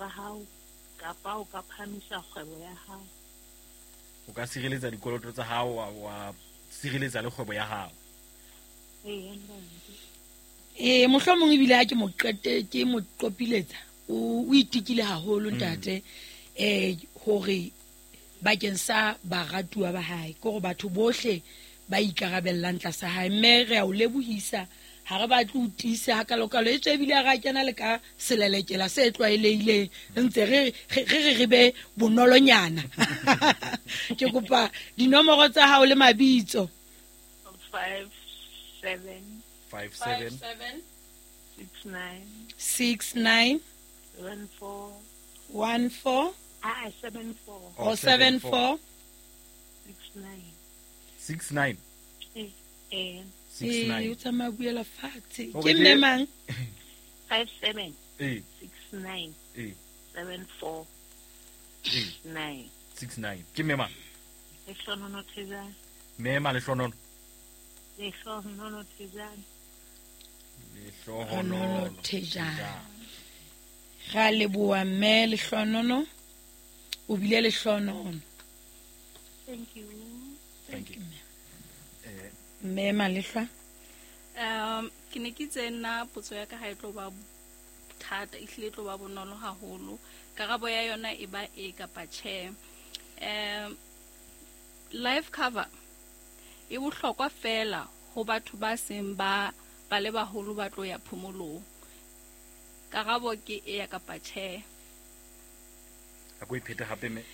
tsa hao kapa o ka phahamisa kgwebo ya hao. O ka sireletsa dikoloto tsa hao wa sireletsa le kgwebo ya hao. Ee, ntate. Ee, mohlomong ebile ha ke mo qete ke mo qopiletsa o itikile haholo ntate hore bakeng sa baratuwa ba hae ke hore batho bohle ba ikarabellang tlasa hae, mme re a o lebohisa ha re batle ho tiisa hakalokalo e tswe ebile ha re kena le ka selelekela se tlwaelehileng ntse re re re be bonolonyana. Ke kopa dinomoro tsa hao le mabitso. 5 7 5 7 6 9 6 9 1 4 1 4 7 4 or 7 4 6 9 6 9 6 9 o tsamaya buela fatshe. Ke mme mang? 5 7 6 9 7 4 9 6 9. Ke mme mang? Lehlonono Thejane. Mme ma Lehlonono. Lehlonono Thejane. Lehlonono Thejane. Ra leboha mme Lehlonono. O bile lehlonono. Thank you. Thank you. Mme Malehlwa. Ke ne ke itse nna potso ya ka ha e tlo ba thata, e hlile e tlo ba bonolo haholo. Karabo ya yona e ba e kapa tjhe. Life cover e bohlokwa fela ho batho ba seng ba le baholo ba tlo ya phomolong. Karabo ke e ya kapa tjhe. A ko iphete hape mme.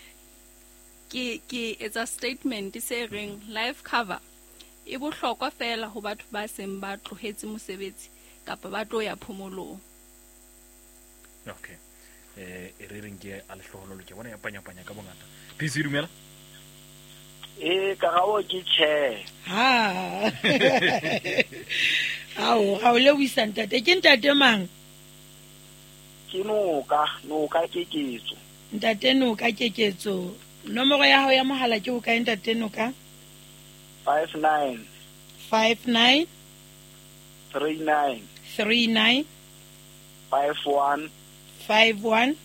Ke etsa statement se reng life cover e bohlokwa fela ho batho ba seng ba tlohetse mosebetsi kapa ba tlo ya phomolong. Okay. E re reng ke a lehloholo ke bona ya panya-panya ka bongata. PC dumela. Karabo ke tjhe. Ha. Ao, ga o lebohisa ntate. Ke ntate mang? Ke Noka Keketso. Ntate Noka Keketso. Nomoro ya hao ya mohala ke hokae ntate Noka? 5 9 5 9 3 9 3 9 5 1 5 1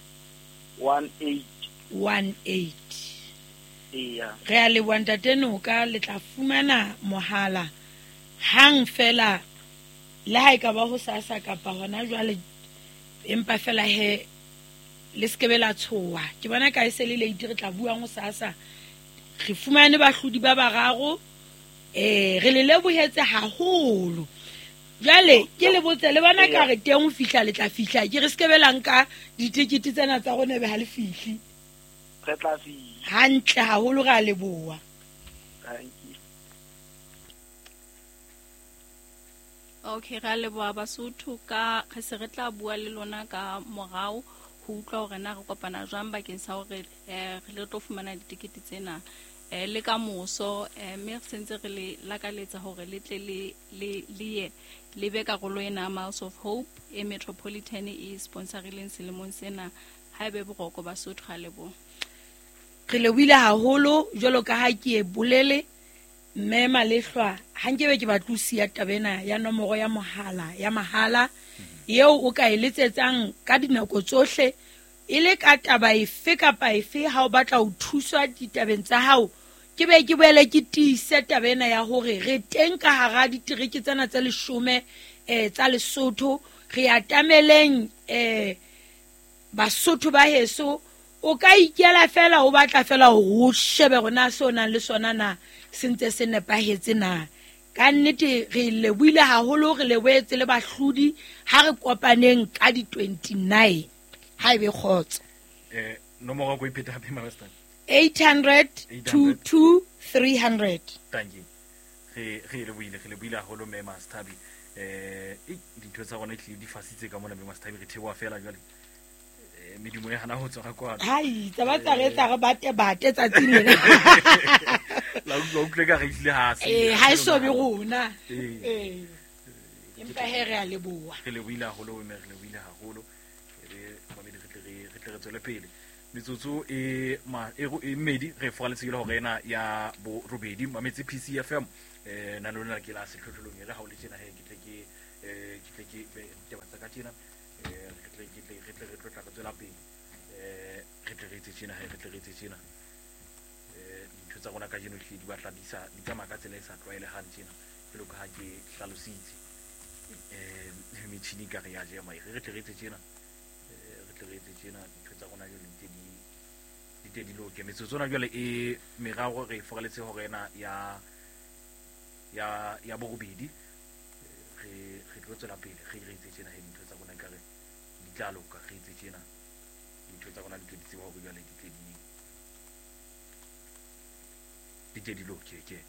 1 8 1 8. Eya. Re a leboha ntate Noka, le tla fumana mohala hang fela le ha e ka ba ho sasa kapa hona jwale, empa fela he le sekebe la tshoha. Ke bona ka e se le late, re tla buang ho sasa. Re fumane bahlodi ba bararo. Re le lebohetse haholo. Jwale ke le botse le bona ka re teng ho fihla le tla fihla. Ke re sekebe la nka ditekete tsena tsa rona be ha le fihle. Re tla fihla. Hantle haholo, re a leboha. Thank you. Okay, re a leboha Basotho ka re se re tla bua le lona ka morao ho utlwa hore na re kopana jwang bakeng sa hore re tlo fumana ditekete tsena le ka moso, mme re sentse re le lakaletsa hore le tle le ye le be karolo ena Miles of Hope e Metropolitan e sponsorileng selemong sena. Ha ebe boroko Basotho, ga leboha. Re lebohile haholo jwalo ka ha ke e bolele mme Malehlwa, ha nkebe ke batla ho siya taba ena ya nomoro ya mohala ya mahala eo o ka e letsetsang ka dinako tsohle e le ka taba efe kapa efe ha o batla ho thuswa ditabeng tsa hao. Ke be ke boele ke tiise taba ena ya hore re teng ka hara ditereke tsena tse 10 tsa Lesotho. Re atameleng Basotho ba heso. O ka ikela fela o batla fela ho shebe rona se o nang le sona na se ntse se nepahetse na. Ka nnete re lebohile haholo, re lebohetse le bahlodi. Ha re kopaneng ka di 29 ha ebe kgotso. Nomoro ko iphete hape Master. 800 22 300. Thank you. Re lebohile haholo mme Master. Dintho tsa rona di fasitse ka mona mme Master, re theoha fela jwale. Medimo e hana ho tswa ka kwano. Hai, tsa tsa re tsa re bate tsatsing lena. La utlwe ka re itlile ha se. Ha e so be rona. Empa he re a leboha. Re lebohile haholo mme re lebohile haholo. Re mamedi re tle re tswele pele. Metsotso e mmedi re foraletse le hore ena ya bo robedi mametse PCFM. Na lona ke la sehlohlolong e re ha o le tjena he ke tle ke ke batsa ka tjena. Re tle re tlo tla re tswela pele. Re tle re etse tjena, he, re tle re etse tjena. Dintho tsa rona kajeno ehlile di batla di sa di tsamaya ka tsela e sa tlwaelehang tjena, jwalo ka ha ke hlalositse. Metjhini ekare ya jema, re tle re etse tjena. Re tle re etse tjena, dintho tsa rona jwale di tle di loke. Metsotso ona jwale e meraro re e foraletse hora ena ya borobedi. Re tlo tswela pele re etse tjena, he, dintho tsa rona ekare di tla loka. Re etse tjena, dintho tsa rona di tle di tsebe hore jwale di tle di loke. Ke